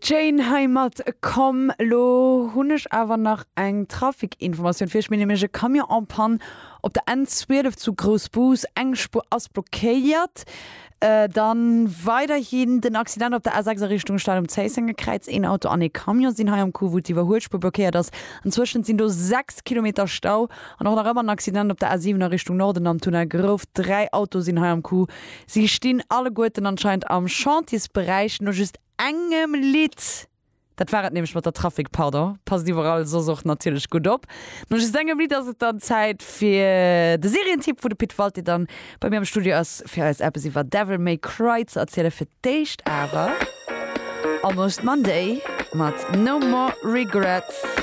Jane hei mat Komm. Lo hunn ech awer nach eng Trafikinformatioun fir iech. Mir hunn nämlech e Camion en panne op der N12 zu Groussbus. Eng Spuer ass blockéiert. Dann weiderhin den Accident op der A6 a Richtung Stad um Zéissengerkräiz. Een Auto an ee Camion sinn hei am Coup, wou d'Iwwerhuelspuer blockéiert ass. Anzwëschent sinn do 6 Kilometer Stau. An och nach ëmmer en Accident op der A7 a Richtung Norden am Tunnel Grouft. 3 Autoe sinn hei am Coup. Si stinn alleguerten anscheinend am Chantiersberäich no just engem Lidd. Dat war et nämlech mat der Trafic, pardon. Passt iwwerall soss och natierlech gutt op. No just engem Lidd ass et dann Zäit fir de Serientipp, wou de Pit Walté dann bei mir am Studio ass, fir eis eppes iwwer Devil May Cry ze erzielen. Fir d'éischt awer Almost Monday mat No More Regrets.